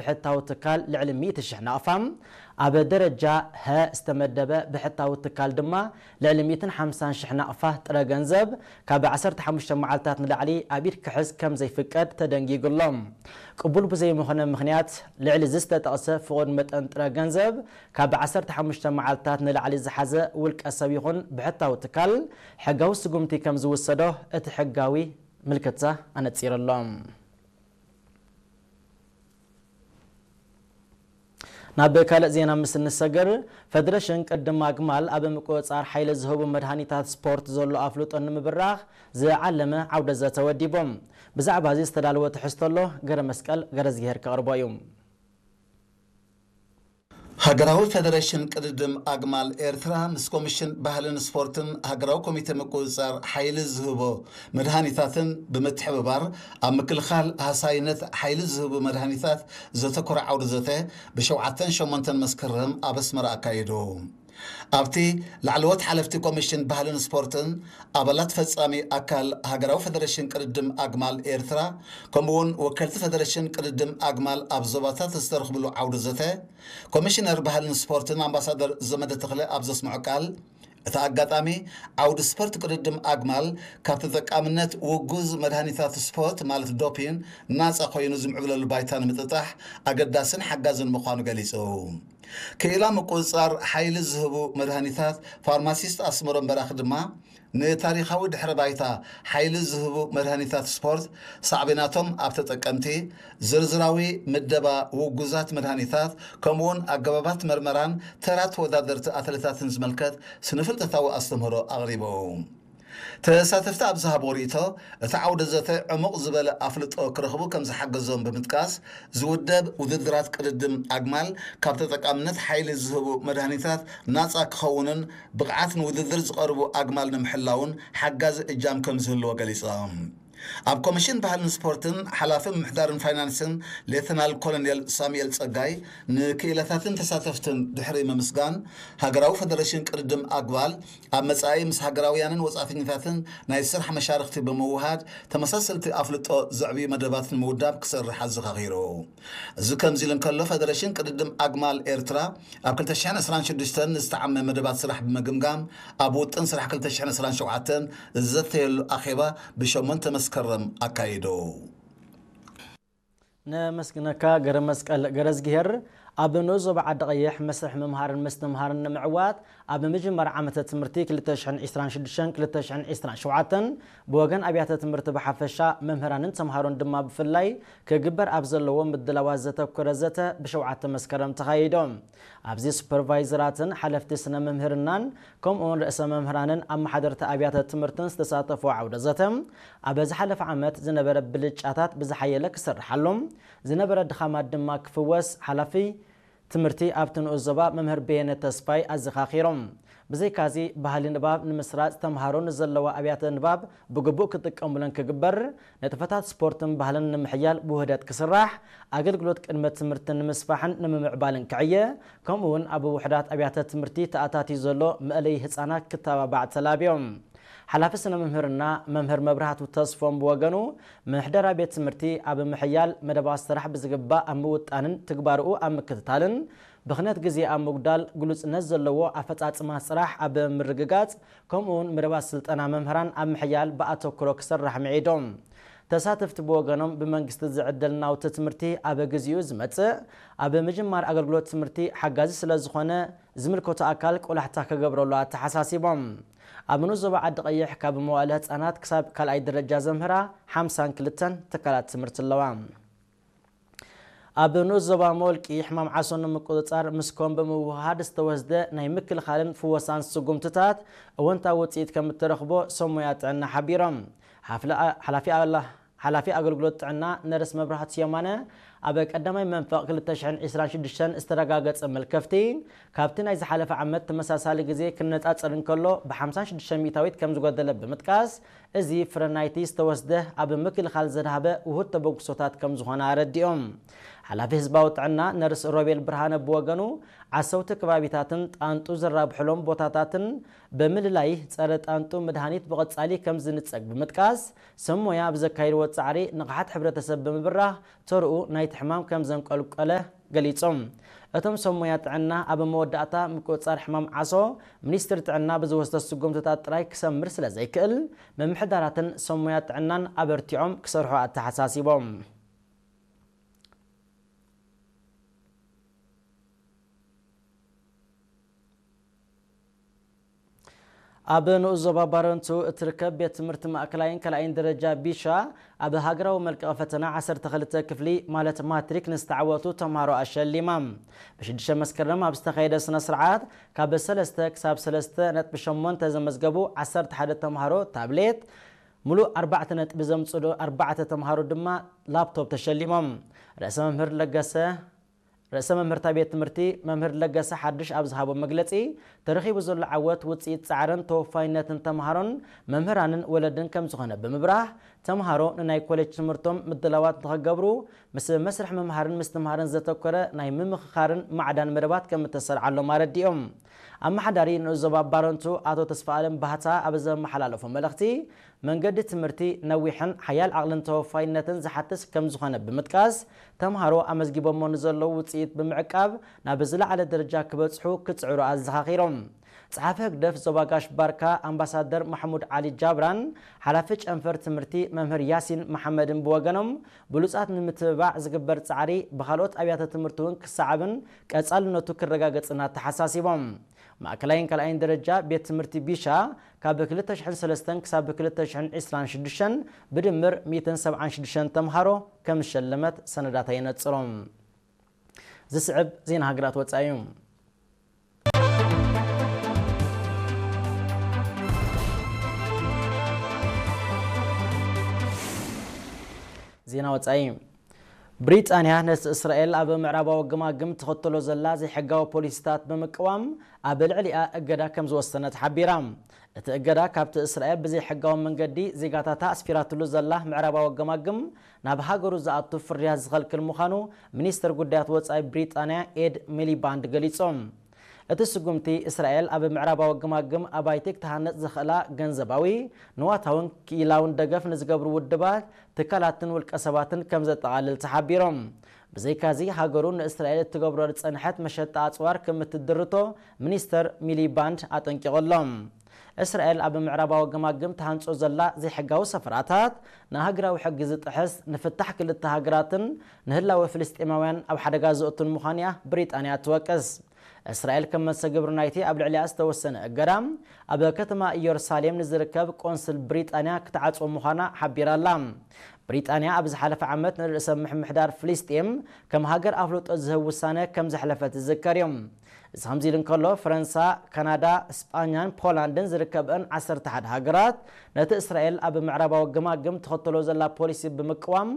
ብሕታዊ ትካል ልዕሊ ሚእቲ ሽሕ ናቕፋ፣ ኣብ ደረጃ ሀ ዝተመደበ ብሕታዊ ትካል ድማ ልዕሊ ሚእትን ሓምሳን ሽሕ ናቕፋ ጥረ ገንዘብ ካብ ዓሰርተ ሓሙሽተ መዓልታት ንላዕሊ ኣብ ኢድ ክሕዝ ከም ዘይፍቀድ ተደንጊጉ ኣሎ። ቅቡል ብዘይምኾነ ምኽንያት ልዕሊ እዚ ዝተጠቕሰ ፍቑድ መጠን ጥረ ገንዘብ ካብ ዓሰርተ ሓሙሽተ መዓልታት ንላዕሊ ዝሓዘ ውልቀ ሰብ ይኹን ብሕታዊ ትካል ሕጋዊ ስጉምቲ ከም ዝውሰዶ እቲ ሕጋዊ ምልክታ ኣነጺሩ ኣሎ። ናብ ካልእ ዜና ምስ እንሰገር፣ ፈደረሽን ቅድድም ኣግማል ኣብ ምቁጽጻር ሓይሊ ዝህቡ መድሃኒታት ስፖርት ዘሎ ኣፍልጦ ንምብራኽ ዝዓለመ ዓውደ ዘተ ወዲቦም። ብዛዕባ እዚ ዝተዳለወ ትሕዝቶ ኣሎ፣ ገረ መስቀል ገረዝግሄር ከቕርቦ እዩ። ሃገራዊ ፈደረሽን ቅድድም ኣግማል ኤርትራ ምስ ኮሚሽን ባህልን ስፖርትን ሃገራዊ ኮሚቴ ምቁጽጻር ሓይሊ ዝህቦ መድሃኒታትን ብምትሕብባር ኣብ ምክልኻል ሃሳይነት ሓይሊ ዝህቡ መድሃኒታት ዘተኮረ ዓውዲ ዘተ ብሸውዓተን ሸሞንተን መስከረም ኣብ ኣስመራ ኣካይዱ። ኣብቲ ላዕለዎት ሓለፍቲ ኮሚሽን ባህልን ስፖርትን ኣባላት ፈጻሚ ኣካል ሃገራዊ ፈደረሽን ቅድድም ኣግማል ኤርትራ ከምኡውን ወከልቲ ፈደረሽን ቅድድም ኣግማል ኣብ ዞባታት ዝተረኽብሉ ዓውዲ ዘተ ኮሚሽነር ባህልን ስፖርትን ኣምባሳደር ዘመደ ተኽለ ኣብ ዘስምዖ ቃል፣ እቲ ኣጋጣሚ ዓውዲ ስፖርት ቅድድም ኣግማል ካብ ተጠቃምነት ውጉዝ መድሃኒታት ስፖርት ማለት ዶፒን ናጻ ኮይኑ ዝምዕብለሉ ባይታ ንምጥጣሕ ኣገዳስን ሓጋዝን ምዃኑ ገሊጹ። ክኢላ ምቁጽጻር ሓይሊ ዝህቡ መድሃኒታት ፋርማሲስት ኣስመሮም በራኺ ድማ ንታሪኻዊ ድሕረ ባይታ ሓይሊ ዝህቡ መድሃኒታት ስፖርት፣ ሳዕቤናቶም ኣብ ተጠቀምቲ፣ ዝርዝራዊ ምደባ ውጉዛት መድሃኒታት፣ ከምኡውን ኣገባባት መርመራን ተራ ተወዳደርቲ ኣትሌታትን ዝምልከት ስነ-ፍልጠታዊ ኣስተምህሮ ኣቕሪቡ። ተሳተፍቲ ኣብ ዝሃብዎ ርእይቶ፣ እቲ ዓውደ ዘተ ዕሙቕ ዝበለ ኣፍልጦ ክረኽቡ ከም ዝሓገዞም ብምጥቃስ፣ ዝውደብ ውድድራት ቅድድም ኣግማል ካብ ተጠቃምነት ሓይሊ ዝህቡ መድሃኒታት ናጻ ክኸውንን ብቕዓት ንውድድር ዝቐርቡ ኣግማል ንምሕላውን ሓጋዚ እጃም ከም ዝህልዎ ገሊጾም። ኣብ ኮሚሽን ባህልን ስፖርትን ሓላፊ ምምሕዳርን ፋይናንስን ሌተናል ኮሎኔል ሳሙኤል ጸጋይ ንክኢላታትን ተሳተፍትን ድሕሪ ምምስጋን፣ ሃገራዊ ፈደረሽን ቅድድም ኣግማል ኣብ መጻኢ ምስ ሃገራውያንን ወጻእተኛታትን ናይ ስራሕ መሻርኽቲ ብምውሃድ ተመሳሰልቲ ኣፍልጦ ዘዕብዩ መደባት ንምውዳብ ክሰርሕ ኣዘኻኺሩ። እዚ ከምዚ ኢሉ እንከሎ፣ ፈደረሽን ቅድድም ኣግማል ኤርትራ ኣብ ክልተ ሽሕን ዕስራን ሽዱሽተን ዝተዓመ መደባት ስራሕ ብምግምጋም፣ ኣብ ውጥን ስራሕ ክልተ ሽሕን ዕስራን ሸውዓተን ዝዘተየሉ ኣኼባ ብሸሞንተ መስከረም ኣካይዱ። ነመስግነካ ገረ መስቀል ገረዝግሄር። ኣብ ንኡስ ዞባ ዓዲ ቀይሕ መስርሕ ምምሃርን ምስትምሃርን ንምዕዋት ኣብ ምጅማር ዓመተ ትምህርቲ ክልተ ሽሕን ዕስራን ሽዱሽተን ክልተ ሽሕን ዕስራን ሸውዓተን ብወገን ኣብያተ ትምህርቲ ብሓፈሻ መምህራንን ተምሃሮን ድማ ብፍላይ ክግበር ኣብ ዘለዎ ምድላዋት ዘተኮረ ዘተ ብሸውዓተ መስከረም ተኻይዶም። ኣብዚ ሱፐርቫይዘራትን ሓለፍቲ ስነ መምህርናን ከምኡውን ርእሰ መምህራንን ኣመሓደርቲ ኣብያተ ትምህርትን ዝተሳተፉ ዓውደ ዘተ ኣብ ዝሓለፈ ዓመት ዝነበረ ብልጫታት ብዝሓየለ ክስርሓሎም፣ ዝነበረ ድኻማት ድማ ክፍወስ ሓላፊ ትምህርቲ ኣብቲ ንኡስ ዞባ መምህር በየነ ተስፋይ ኣዘኻኺሮም። ብዘይካዚ ባህሊ ንባብ ንምስራጽ ተምሃሮ ንዘለዋ ኣብያተ ንባብ ብግቡእ ክጥቀሙለን ክግበር፣ ንጥፈታት ስፖርትን ባህልን ንምሕያል ብውህደት ክስራሕ፣ ኣገልግሎት ቅድመ ትምህርቲ ንምስፋሕን ንምምዕባልን ክዕየ፣ ከምኡ እውን ኣብ ውሑዳት ኣብያተ ትምህርቲ ተኣታትዩ ዘሎ መእለዪ ህጻናት ክተባባዕ ተላብዮም። ሓላፊ ስነ መምህርና መምህር መብራህቱ ተስፎም ብወገኑ፣ ምሕደራ ቤት ትምህርቲ ኣብ ምሕያል መደባት ስራሕ ብዝግባእ ኣብ ምውጣንን ትግባርኡ ኣብ ምክትታልን ብኽነት ግዜ ኣብ ምጉዳል ግሉጽነት ዘለዎ ኣፈጻጽማ ስራሕ ኣብ ምርግጋጽ ከምኡውን መደባት ስልጠና መምህራን ኣብ ምሕያል ብኣተኩሮ ክሰርሕ ምዒዶም። ተሳተፍቲ ብወገኖም ብመንግስቲ ዝዕደል ናውቲ ትምህርቲ ኣብ ግዚኡ ዝመጽእ ኣብ ምጅማር ኣገልግሎት ትምህርቲ ሓጋዚ ስለ ዝኾነ ዝምልከቶ ኣካል ቆላሕታ ክገብረሉ ኣተሓሳሲቦም። ኣብ ንኡስ ዞባ ዓዲ ቀይሕ ካብ መዋእለ ህጻናት ክሳብ ካልኣይ ደረጃ ዘምህራ ሓምሳን ክልተን ትካላት ትምህርቲ ኣለዋ። ኣብ ንኡስ ዞባ መወልቂ ሕማም ዓሶ ንምቁጽጻር ምስ ኮም ብምውሃድ ዝተወስደ ናይ ምክልኻልን ፍወሳን ስጉምትታት እወንታዊ ውጽኢት ከም እተረኽቦ ሰብ ሞያ ጥዕና ሓቢሮም። ሓፍለ-፣ ሓላፊ ኣላ-፣ ሓላፊ ኣገልግሎት ጥዕና ነርስ መብራህቱ የማነ ኣብ ቀዳማይ መንፈቕ ክልተ ሽሕን ዕስራን ሽዱሽተን ዝተረጋገጸ መልከፍቲ ካብቲ ናይ ዝሓለፈ ዓመት ተመሳሳሊ ግዜ ክነጻጸር እንከሎ ብሓምሳን ሽዱሽተ ሚእታዊት ከም ዝጎደለ ብምጥቃስ፣ እዚ ፍረ ናይቲ ዝተወስደ ኣብ ምክልኻል ዘድሃበ ውሁድ ተበግሶታት ከም ዝኾነ ኣረዲኦም። ሓላፊ ህዝባዊ ጥዕና ነርስ ሮቤል ብርሃነ ብወገኑ፣ ዓሰውቲ ከባቢታትን ጣንጡ ዝራብሕሎም ቦታታትን ብምልላይ ጸረ ጣንጡ መድሃኒት ብቐጻሊ ከም ዝንጸግ ብምጥቃስ፣ ሰብ ሞያ ኣብ ዘካየድዎ ጻዕሪ ንቕሓት ሕብረተሰብ ብምብራህ ተርኡ ናይ ሕማም ከም ዘንቆልቆለ ገሊጾም። እቶም ሰብ ሞያ ጥዕና ኣብ መወዳእታ ምቁጽጻር ሕማም ዓሶ ሚኒስትሪ ጥዕና ብዝወስዶ ስጉምትታት ጥራይ ክሰምር ስለ ዘይክእል፣ ምምሕዳራትን ሰብ ሞያ ጥዕናን ኣበርቲዖም ክሰርሑ ኣተሓሳሲቦም። ኣብ ንኡስ ዞባ ባረንቱ እትርከብ ቤት ትምህርቲ ማእከላይን ካልኣይን ደረጃ ቢሻ ኣብ ሃገራዊ መልቀቒ ፈተና ዓሰርተ ክልተ ክፍሊ ማለት ማትሪክ ንዝተዓወቱ ተምሃሮ ኣሸሊማ። ብሽዱሽተ መስከረም ኣብ ዝተኻየደ ስነ ስርዓት ካብ ሰለስተ ክሳብ ሰለስተ ነጥቢ ሸሞንተ ዘመዝገቡ ዓሰርተ ሓደ ተምሃሮ ታብሌት፣ ሙሉእ ኣርባዕተ ነጥቢ ዘምጽኡ ኣርባዕተ ተምሃሮ ድማ ላፕቶፕ ተሸሊሞም። ርእሰ መምህር ለገሰ ርእሰ መምህርታ ቤት ትምህርቲ መምህር ለገሰ ሓድሽ ኣብ ዝሃቦ መግለጺ፣ ተረኺቡ ዘሎ ዓወት ውጽኢት ጻዕርን ተወፋይነትን ተምሃሮን መምህራንን ወለድን ከም ዝኾነ ብምብራህ፣ ተምሃሮ ንናይ ኮሌጅ ትምህርቶም ምድላዋት ንኸገብሩ ምስ መስርሕ ምምሃርን ምስትምሃርን ዘተኮረ ናይ ምምኽኻርን ማዕዳን መደባት ከም እተሰርዓሎም ኣረዲኦም። ኣመሓዳሪ ንኡስ ዞባ ባረንቱ ኣቶ ተስፋኣለም ባህታ ኣብ ዘመሓላለፎ መልእኽቲ፣ መንገዲ ትምህርቲ ነዊሕን ሓያል ዓቕልን ተወፋይነትን ዝሓትት ከም ዝኾነ ብምጥቃስ፣ ተምሃሮ ኣመዝጊቦሞ ንዘለዉ ውጽኢት ብምዕቃብ ናብ ዝለዓለ ደረጃ ክበጽሑ ክጽዕሩ ኣዘኻኺሮም። ጸሓፊ ህግደፍ ዞባ ጋሽ ባርካ ኣምባሳደር ማሕሙድ ዓሊ ጃብራን ሓላፊ ጨንፈር ትምህርቲ መምህር ያሲን መሓመድን ብወገኖም፣ ብሉጻት ንምትብባዕ ዝግበር ጻዕሪ ብኻልኦት ኣብያተ ትምህርቲ እውን ክሰዓብን ቀጻልነቱ ክረጋገጽን ኣተሓሳሲቦም። ማእከላይን ካልኣይን ደረጃ ቤት ትምህርቲ ቢሻ ካብ ክልተ ሽሕን ሰለስተን ክሳብ ክልተ ሽሕን ዕስራን ሽዱሽተን ብድምር ሚእትን ሰብዓን ሽዱሽተን ተምሃሮ ከም ዝሸለመት ሰነዳት የነጽሮም። ዝስዕብ ዜና ሃገራት ወጻኢ እዩ። ዜና ወጻኢ። ብሪጣንያ ነቲ እስራኤል ኣብ ምዕራባዊ ገማግም ትኽተሎ ዘላ ዘይሕጋዊ ፖሊሲታት ብምቅዋም ኣብ ልዕሊኣ እገዳ ከም ዝወሰነት ሓቢራ። እቲ እገዳ ካብቲ እስራኤል ብዘይሕጋዊ መንገዲ ዜጋታታ ኣስፊራትሉ ዘላ ምዕራባዊ ገማግም ናብ ሃገሩ ዝኣቱ ፍርያት ዝኸልክል ምዃኑ ሚኒስትር ጉዳያት ወጻኢ ብሪጣንያ ኤድ ሚሊባንድ ገሊጾም። እቲ ስጉምቲ እስራኤል ኣብ ምዕራባዊ ገማግም ኣባይቲ ክትሃንጽ ዝኽእላ ገንዘባዊ፣ ንዋታውን ክኢላውን ደገፍ ንዝገብሩ ውድባት፣ ትካላትን ውልቀ ሰባትን ከም ዘጠቓልል ተሓቢሮም። ብዘይካዚ ሃገሩ ንእስራኤል እትገብሮ ዝጸንሐት መሸጣ ኣጽዋር ከም እትድርቶ ሚኒስተር ሚሊባንድ ኣጠንቂቑ ኣሎ። እስራኤል ኣብ ምዕራባዊ ገማግም ትሃንጾ ዘላ ዘይሕጋዊ ሰፈራታት ንሃገራዊ ሕጊ ዝጥሕስ፣ ንፍታሕ ክልተ ሃገራትን ንህላወ ፍልስጤማውያን ኣብ ሓደጋ ዘእቱን ምዃኑ እያ ብሪጣንያ ትወቅስ። እስራኤል ከም መልሰ ግብሪ ናይቲ ኣብ ልዕሊኣ ዝተወሰነ እገዳ፣ ኣብ ከተማ ኢየሩሳሌም ንዝርከብ ቆንስል ብሪጣንያ ክትዓጽዎ ምዃና ሓቢራ ኣላ። ብሪጣንያ ኣብ ዝሓለፈ ዓመት ንርእሰ ምምሕዳር ፍልስጤም ከም ሃገር ኣፍልጦ ዝህብ ውሳነ ከም ዘሕለፈት ዝዝከር እዩ። እዚ ከምዚ ኢሉ እንከሎ፣ ፈረንሳ፣ ካናዳ፣ ስጳኛን ፖላንድን ዝርከበን ዓሰርተ ሓደ ሃገራት ነቲ እስራኤል ኣብ ምዕራባዊ ገማግም ትኸተሎ ዘላ ፖሊሲ ብምቅዋም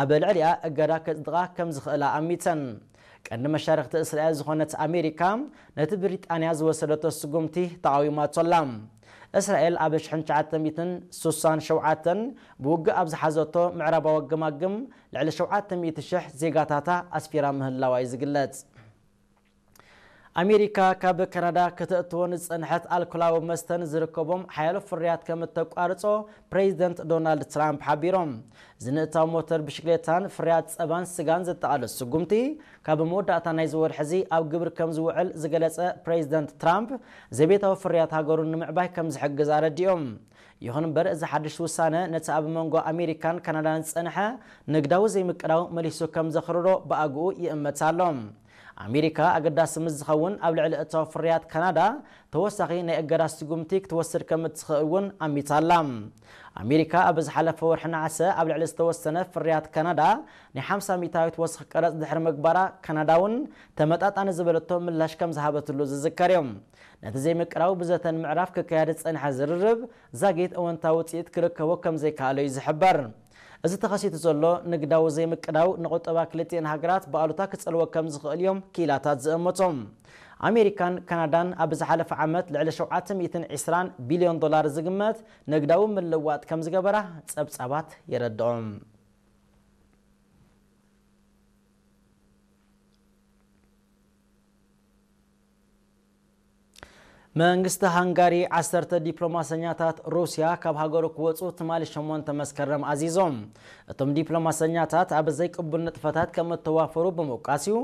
ኣብ ልዕሊኣ እገዳ ከጽድቓ ከም ዝኽእላ ኣሚተን። ቀንዲ መሻርኽቲ እስራኤል ዝኾነት ኣሜሪካ ነቲ ብሪጣንያ ዝወሰደቶ ስጉምቲ ተቓዊማቶ ኣላ። እስራኤል ኣብ ሽሕን ትሽዓተ ሚእትን ስሳን ሸውዓተን ብውግእ ኣብ ዝሓዘቶ ምዕራባዊ ገማግም ልዕሊ ሸውዓተ ሚእቲ ሽሕ ዜጋታታ ኣስፊራ ምህላዋ እዩ ዝግለጽ። ኣሜሪካ ካብ ካናዳ ከተእትዎ ዝጸንሐት ኣልኮላዊ መስተ ንዝርከቦም ሓያሎ ፍርያት ከም እተቋርጾ ፕሬዚደንት ዶናልድ ትራምፕ ሓቢሮም። ዝንእታው ሞተር ብሽክሌታን ፍርያት ጸባን ስጋን ዘጠቓልል ስጉምቲ ካብ መወዳእታ ናይዚ ወርሒ እዚ ኣብ ግብር ከም ዝውዕል ዝገለጸ ፕሬዚደንት ትራምፕ፣ ዘቤታዊ ፍርያት ሃገሩ ንምዕባይ ከም ዝሕግዝ ኣረዲኦም። ይኹን እምበር፣ እዚ ሓድሽ ውሳነ ነቲ ኣብ መንጎ ኣሜሪካን ካናዳን ዝጸንሐ ንግዳዊ ዘይምቅዳው መሊሱ ከም ዘኽርሮ ብኣግኡ ይእመት ኣሎ። ኣሜሪካ ኣገዳሲ ምስ ዝኸውን ኣብ ልዕሊ እታው ፍርያት ካናዳ ተወሳኺ ናይ እገዳ ስጉምቲ ክትወስድ ከም እትኽእል እውን ኣሚታ ኣላ። ኣሜሪካ ኣብ ዝሓለፈ ወርሒ ነሓሰ ኣብ ልዕሊ ዝተወሰነ ፍርያት ካናዳ ናይ ሓምሳ ሚእታዊት ወሰኽ ቀረጽ ድሕሪ ምግባራ፣ ካናዳ እውን ተመጣጣኒ ዝበለቶ ምላሽ ከም ዝሃበትሉ ዝዝከር እዩ። ነቲ ዘይምቅዳው ብዘተን ምዕራፍ ክካየድ ዝጸንሐ ዝርርብ ዛጊት እወንታዊ ውጽኢት ክርከቦ ከም ዘይከኣሎ እዩ ዝሕበር። እዚ ተኸሲቱ ዘሎ ንግዳዊ ዘይምቅዳው ንቁጠባ ክልቲኤን ሃገራት ብኣሉታ ክጸልዎ ከም ዝኽእል እዮም ክኢላታት ዝእምቱ። ኣሜሪካን ካናዳን ኣብ ዝሓለፈ ዓመት ልዕሊ ሸውዓተ ሚእትን ዕስራን ቢልዮን ዶላር ዝግመት ንግዳዊ ምልውዋጥ ከም ዝገበራ ጸብጻባት የረድኦም። መንግስቲ ሃንጋሪ ዓሰርተ ዲፕሎማሰኛታት ሩስያ ካብ ሃገሩ ክወፁ ትማሊ ሸሞንተ መስከረም ኣዚዞም። እቶም ዲፕሎማሰኛታት ኣብ ዘይቅቡል ንጥፈታት ከም እተዋፈሩ ብምውቃስ እዩ